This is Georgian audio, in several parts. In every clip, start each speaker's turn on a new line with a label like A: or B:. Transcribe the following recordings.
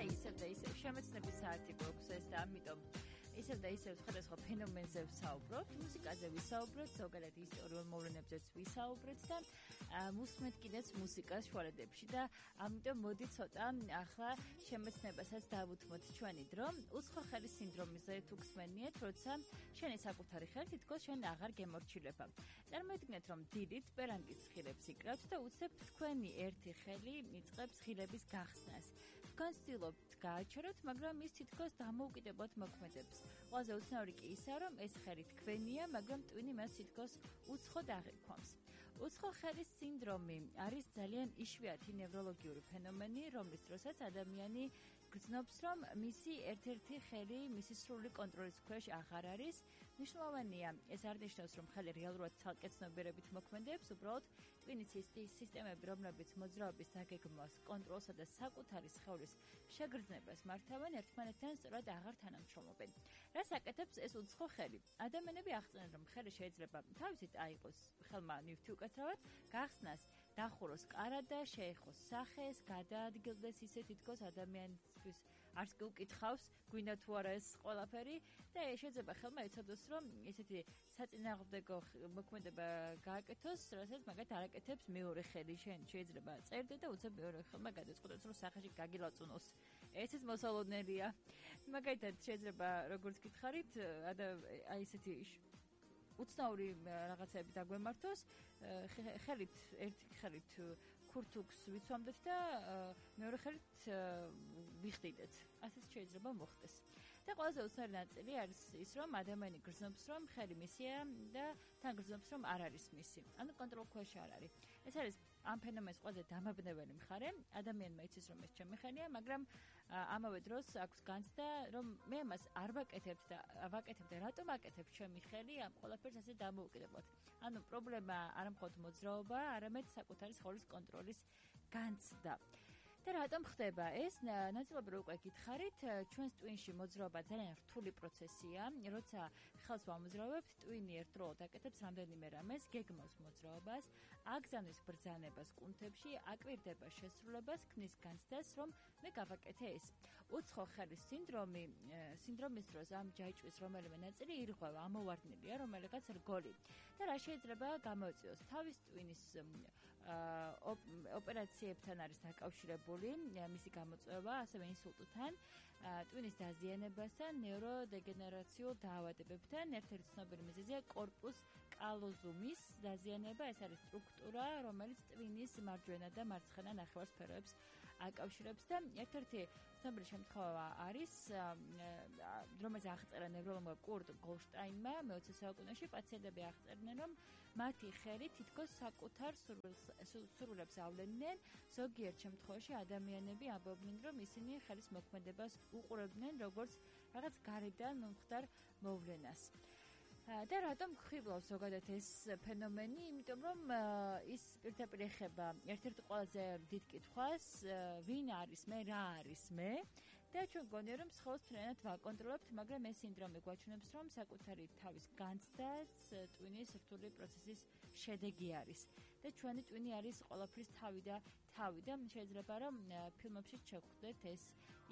A: ისევ შემეცნების საათი გვაქვს ეს და ამიტომ ისევ და ისევ სხვადასხვა ფენომენზე ვსაუბრობთ, მუსიკაზე ვისაუბროთ, ზოგადად ისტორიულ მოვლენებზეც ვისაუბროთ და მუსმენთ კიდეც მუსიკას შუალედებში და ამიტომ მოდი ცოტა ახლა შემეცნებასაც დავუთმოთ ჩვენი დრო. უცხო ხელის სინდრომიზე თუ გსმენიეთ, როცა შენი საკუთარი ხელი თითქოს შენ აღარ გემორჩილება. წარმოიდგინეთ, რომ დილით პერანგის ხილებს იკრავთ და უცებ თქვენი ერთი ხელი იწყებს ხილების გახსნას. თქვენ ცდილობთ გააჩეროთ, მაგრამ ის თითქოს დამოუკიდებლად მოქმედებს. ყველაზე უცნაური კი ისაა, რომ ეს ხელი თქვენია, მაგრამ ტვინი მას თითქოს უცხოდ აღიქვამს. უცხო ხელის სინდრომი არის ძალიან იშვიათი ნევროლოგიური ფენომენი, რომლის დროსაც ადამიანი გრძნობს, რომ მისი ერთ-ერთი ხელი მისი სრული კონტროლის ქვეშ აღარ არის. მნიშვნელოვანია, ეს არ ნიშნავს, რომ ხელი რეალურად ცალკე ცნობიერებით მოქმედებს, უბრალოდ ტვინის სისტემები, რომლებიც მოძრაობის დაგეგმვას, კონტროლსა და საკუთარი სხეულის შეგრძნებას მართავენ, ერთმანეთთან სწორად აღარ თანამშრომლობენ. რას აკეთებს ეს უცხო ხელი? ადამიანები აღწერენ, რომ ხელი შეიძლება თავისით აიღოს ხელმა ნივთი უკაცრავად, გახსნას, დახუროს კარად და შეეხოს სახეს, გადაადგილდეს ისე თითქოს ადამიანისთვის არც კი უკითხავს, გვინდა თუ არა ეს ყველაფერი და შეიძლება ხელმა იცოდეს, რომ ესეთი საწინააღმდეგო მოქმედება გააკეთოს, რასაც მაგათ არ აკეთებს მეორე ხელი. შენ შეიძლება წერდე და უცებ მეორე ხელმა გადაწყვეტოს, რომ სახეში გაგილაწუნოს. ესეც მოსალოდნელია. მაგალითად შეიძლება როგორც გითხარით, აი ესეთი უცნაური რაღაცები დაგვემართოს, ხელით ერთი ხელით ქურთუქს ვიცვამდეთ და მეორე ხელით ვიხდიდეთ. ასეც შეიძლება მოხდეს. და ყველაზე უცნაური ნაწილი არის ის, რომ ადამიანი გრძნობს, რომ ხელი მისია და თან გრძნობს, რომ არ არის მისი. ანუ კონტროლ ქვეშ არ არის. ეს არის ამ ფენომენის ყველაზე დამაბნეველი მხარე. ადამიანმა იცის, რომ ეს ჩემი ხელია, მაგრამ ამავე დროს აქვს განცდა, რომ მე მას არ ვაკეთებ და რატომ აკეთებ ჩემი ხელი ამ ყველაფერს ასე დამოუკიდებლად. ანუ პრობლემა არა მხოლოდ მოძრაობა, არამედ საკუთარი სხეულის კონტროლის განცდა. და რატომ ხდება ეს? ნაწილობრივ უკვე გითხარით, ჩვენს ტვინში მოძრაობა ძალიან რთული პროცესია. როცა ხელს ვამოძრავებთ, ტვინი ერთდროულად აკეთებს რამდენიმე რამეს, გეგმავს მოძრაობას, აგზავნის ბრძანებას კუნთებში, აკვირდება შესრულებას, ქმნის განცდას, რომ მე გავაკეთე ეს. უცხო ხელის სინდრომის დროს ამ ჯაჭვის რომელიმე ნაწილი ირღვევა, ამოვარდნილია, რომელიღაც რგოლი. და რა შეიძლება გამოიწვიოს? თავის ტვინის ოპერაციებთან არის დაკავშირებული მისი გამოწვევა, ასევე ინსულტთან, ტვინის დაზიანებასთან, ნეიროდეგენერაციულ დაავადებებთან. ერთ-ერთი ცნობილი მიზეზია კორპუს კალოზუმის დაზიანება. ეს არის სტრუქტურა, რომელიც ტვინის მარჯვენა და მარცხენა ნახევარსფეროებს აკავშირებს და ერთ-ერთი ცნობილი შემთხვევა არის, რომელიც აღწერა ნევროლოგმა კურტ გოლშტაინმა მე-20 საუკუნეში. პაციენტები აღწერდნენ, რომ მათი ხელი თითქოს საკუთარ სურვილებს ავლენდნენ. ზოგიერთ შემთხვევაში ადამიანები ამბობდნენ, რომ ისინი ხელის მოქმედებას უყურებდნენ როგორც რაღაც გარედან მომხდარ მოვლენას. და რატომ გვხიბლავს ზოგადად ეს ფენომენი? იმიტომ რომ ის პირდაპირ ეხება ერთ-ერთ ყველაზე დიდ კითხვას, ვინ არის მე, რა არის მე? და ჩვენ გონია, რომ სხეულს მთლიანად ვაკონტროლებთ, მაგრამ ეს სინდრომი გვაჩვენებს, რომ საკუთარი თავის განცდაც ტვინის რთული პროცესის შედეგი არის. და ჩვენი ტვინი არის ყველაფრის თავი და შეიძლება რომ ფილმებში შევხვდეთ ეს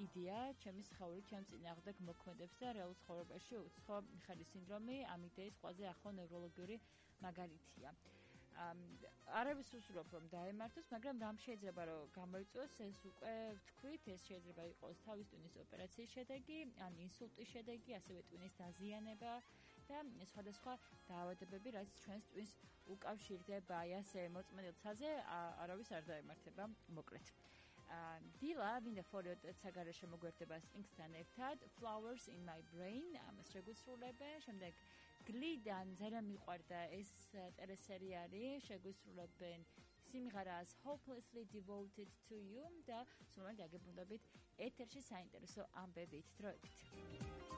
A: იდეა, ჩემი სხეული ჩემ წინააღმდეგ მოქმედებს და რეალურ ცხოვრებაში უცხო ხელის სინდრომი ამ იდეის ყველაზე ახლო ნევროლოგიური მაგალითია. არავის უსურვებ რომ დაემართოს, მაგრამ რამ შეიძლება რომ გამოიწვიოს, ეს უკვე ვთქვით, ეს შეიძლება იყოს თავის ტვინის ოპერაციის შედეგი, ან ინსულტის შედეგი, ასევე ტვინის დაზიანება და სხვადასხვა დაავადებები, რაც ჩვენს ტვინს უკავშირდება. აი ასე მოწმენილ ცაზე არავის არ დაემართება, მოკლედ. დილა ვინდა ფორიოდ საგარეშე მოგვერდება Stinks-თან ერთად, Flowers in my brain, ამას შეგვისრულებენ, შემდეგ გლიდან ძალიან მიყვარდა ეს ტელესერიალი, შეგვისრულებენ სიმღერას Hopelessly Devoted to You და სულ მალე აგებუნდებით ეთერში საინტერესო ამბებით. დროებით.